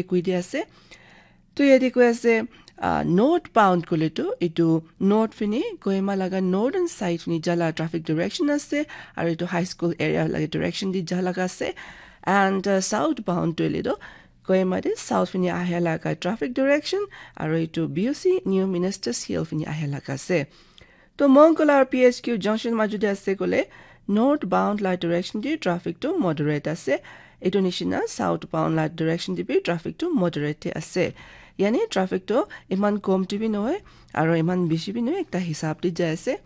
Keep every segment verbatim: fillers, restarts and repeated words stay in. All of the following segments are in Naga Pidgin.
koi di ase. To yate koi ase, uh, northbound koile to etu north fini Kohima laga northern side fini jala traffic direction ase, aru etu high school area laga direction di jala ase. And uh, southbound to ile to Kohima de south fini ahia laga traffic direction, aru etu B O C New Ministers Hill fini ahia laga ase. To Mongkol aru P H Q junction maju de ase koile northbound la direction de traffic to moderate ase. Etu nishina southbound la direction de bi traffic to moderate de ase. Yani traffic to iman kom de bi nohoi, aru iman bishi bi nohoi, ekta hisab de jai ase.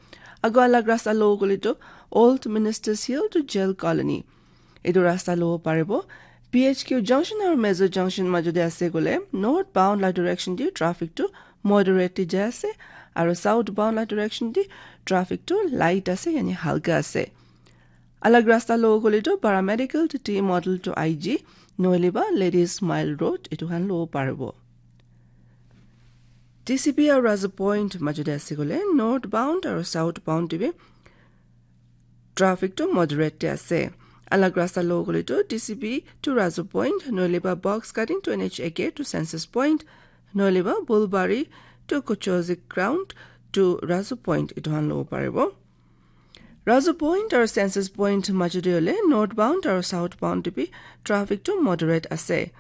Ago alag rasta lo koile to Old Ministers Hill to Jail Colony. Etu rasta lo paribo. P H Q junction aru Mezo junction maju de ase koile northbound la direction de traffic to moderate de jai ase, aru southbound la direction de traffic to light ase, yani halka ase. Alag rasta lo koile to Paramedical to T Model to I G, nohole ba Ladies Mile Road, etu khan lo paribo. T C P aru Razu Point maju de ase koile northbound aru southbound de bi traffic to moderate de ase. Alag rasta lo koile to T C P to Razu Point, nohole ba Box Cutting to N H A K to Census Point, nohole ba Bulbari to Kochozik Ground to Razu Point, etu khan lo paribo. Razu Point aru Census Point maju de hoile northbound aru southbound de bi traffic to moderate ase.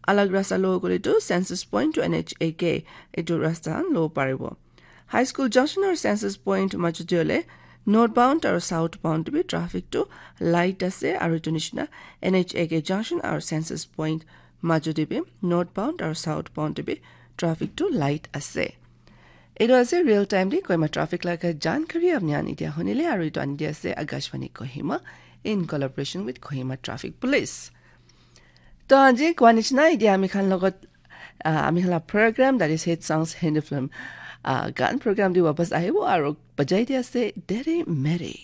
Alag rasta lo koile to Census Point to N H A K, etu rasta khan lo paribo. High School Junction aru Census Point maju de hoile northbound aru southbound de bi traffic to light ase, aru etu nishina N H A K Junction aru Census Point maju de bi northbound aru southbound de bi traffic to light ase. Etu ase real time de Kohima traffic laga jankari apni khan etia hunile, aru etu ani de ase Akashvani Kohima in collaboration with Kohima Traffic Police. To aji koa nishina etia ami khan logot, ah, ami khan la program, that is Hit Songs Hindi Film, ah, gan program de wapas ahibo aru bajai de ase Dere Mere.